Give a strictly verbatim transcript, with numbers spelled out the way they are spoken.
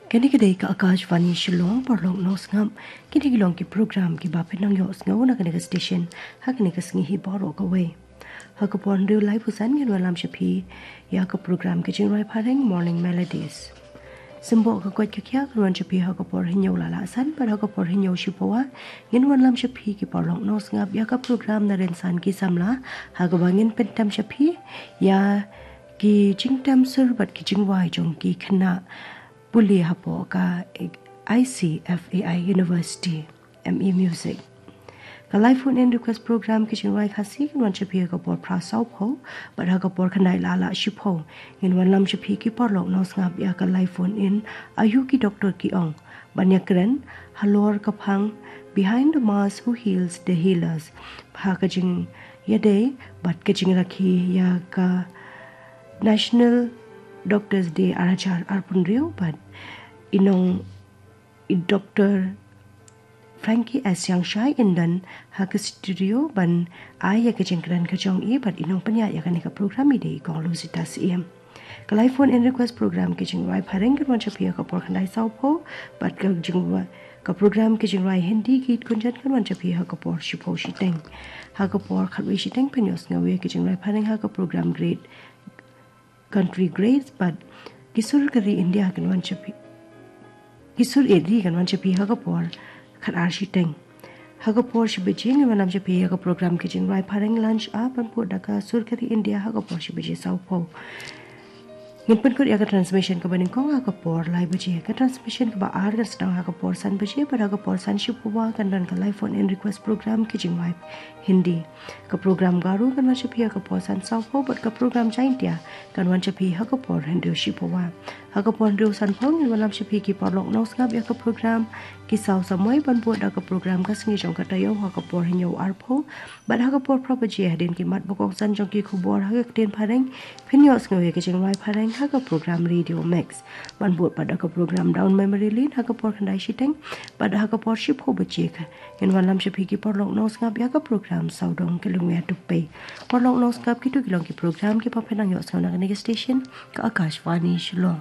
Kane ka dei ka Akashvani Shillong. Paralok nongsngap, kine ki long ki program kiba phin nang ïohsngew na kane ka station ha kane ka sngi hi baroh kawei. Ha ka por hynriew laiphew san ngin wanlam sha phi ïa ka program ka jingrwai phareng Morning Melodies. Symboh ka koit ka khiah kan wan sha phi ha ka por hynñiew la lah san, bad ha ka por hynñiew shiphew wah ngin wanlam sha phi ki paralok nongsngap ïa ka program Na Rynsan Ki Samla, ha kaba ngin pyntem sha phi ïa ki jingtem sur bad ki jingrwai jong ki khynnah pule hapoh ka I C F A I University, M E Music. Ka live phone in request program Ki Jingrwai Khasi kan wan sha phi ha ka por phra sawphew, bad ha ka por khyndai la lah shiphew ngin wanlam sha phi ki paralok nongsngap ïa ka live phone in Aïu Ki Doctor Ki Ong, ban ïakren halor ka phang Behind the Mask, Who Heals the Healers, ha ka jingïadei bad ka jingrakhe ïa ka National Doctors Day ar hajar arphew hynriew, bad i nong i Doctor Frankie S Sangshai in don ha ka studio ban ai ïa ka jingkren ka jong i, bad i nongpynïaid ïa kane ka program i dei i Kong Lusita Syiem. Ka live phone in request program Ki Jingrwai Phareng kan wan sha phi ha ka por khyndai sawphew, bad ka jingrwai, ka program Ki Jingrwai Hindi Geet Gunjan kan wan sha phi ha ka por shiphew shiteng. Ha ka por khatwei shiteng phin ïohsngew ïa ki jingrwai phareng ha ka program Great Country Grace, bad Ki Sur Ka Ri India kan wan sha phi, Ki Sur Ri kan wan sha phi ha ka por khatar shiteng. Ha ka por shi baje ngin wanlam sha phi ha ka program Ki Jingrwai Phareng Lunch Hour, ban bud da Ka Sur Ka Ri India ha ka por shi baje sawphew. Ngin pynkut ïa ka transmission kaba nyngkong ha ka por lai baje. Ka transmission kaba ar kan sdang ha ka por san baje, bad ha ka por san shiphew wah kan don ka live phone in request program Ki Jingrwai Hindi. Ka program Garo kan wan sha phi ha ka por san sawphew, bad ka program Jaintia kan wan sha phi ha ka por hynriew shiphew wah. Ha ka por hynriew sanphew ngin wanlam sha phi ki paralok nongsngap ïa ka program Ki Saw Samoi, ban bud da ka program Ka Sngi Jong Ka Taïew ha ka por hynñiew arphew, bad ha ka por phra baje hadien ki mat ba kongsan jong ki khubor ha ka ktien phareng, phin ïohsngew ïa ki jingrwai phareng ha ka program Radio Mix, ban bud pat da ka program Down Memory Lane ha ka por khyndai shiteng, bad ha ka por shiphew baje ka ngin wanlam sha phi ki paralok nongsngap ïa ka program Sawdong Ka Lungïathuhpei. Paralok nongsngap, kito ki long ki program kiba phin nang ïohsngew na kane ka station, ka Akashvani Shillong.